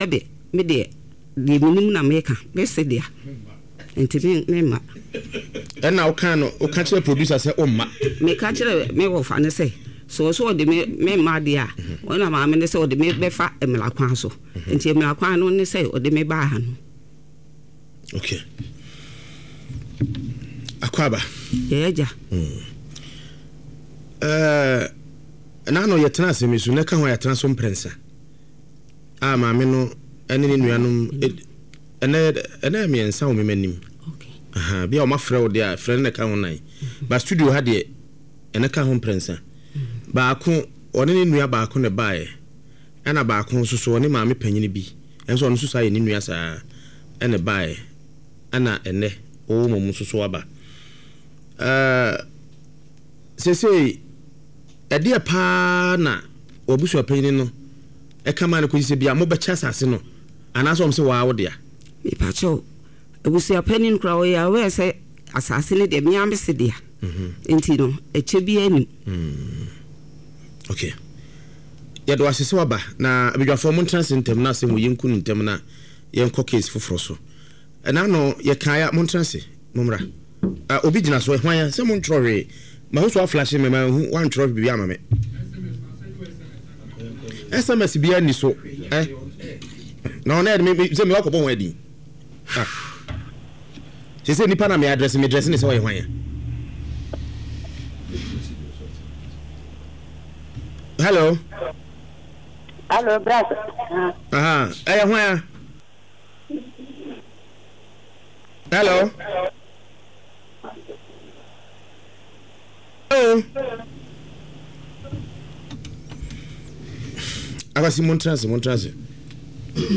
Sɛbe, me deɛ, deɛ menim na meka, mese dea, nti me, memma. Ɛna wokaa no, woka kyerɛɛ producer sɛ womma? Meka kyerɛɛ me wɔfa no sɛ, sɛ ɔse ɔde me, memma deɛ a, ɔna maame no sɛ ɔde me bɛfa mmara kwan so. Nti mmara kwan no ne sɛ ɔde me baa ha no. Okay. Akwaaba. Yɛ agya. Mm. Uh, na ano yɛtena asɛm yi so, na ɛka ho a yɛatena so mprɛnsa. A maame no ne ne nuanom ɛnɛ ɛnɛ mmiɛnsa wɔ mema anim. Aha, bi a wɔn afrɛ wo deɛ a frɛ no na ɛka ho nan. Ba studio ha deɛ ɛnɛ ka ho mprɛnsa. Baako ɔne ne nua baako na ɛbaeɛ. Ɛna baako nso so ɔne maame panyin bi ɛnso ɔno nso saa yɛ ne nua saa ɛna ɛbaeɛ. Ɛna ɛnɛ wɔwɔ mom nso so aba. Ɛɛ sesei ɛdeɛ paa na w'abusuapanyin no ɛka maa no kɔsi sɛ bia mobɛkyɛ asase no anaasɛ wɔn sɛ waa wo dea. Mepakyɛw, abusua panin koraa ɔyɛ aware sɛ asase no deɛ me ara mese dea nti no ɛkyɛ biara nnim. Ok. Yɛda wo ase sɛ waba na abadwafoɔ montena ase ntɛm na asɛm wei yɛnku no ntɛm na yɛnkɔ case foforɔ so. Ɛna ano yɛkaeɛ a montena ase mommra. Ah, obi gyina so, hwan a? Sɛ montwerɛ hwee. Mahu sɛ woaflashe me, manhu, woantwerɛ biribi ama me. SMS biara nni so. Eh? Na ɔno ɛde me, sɛ me wakɔbɔ ho adin. Ah. Sɛ sɛ nipa na me address, me dress ne sɛ ɔyɛ hwan a? Hello. Hello, brother. Aha, ɛyɛ hwan a? Hello. Hello. Abasi mo ntena ase, mo ntena ase.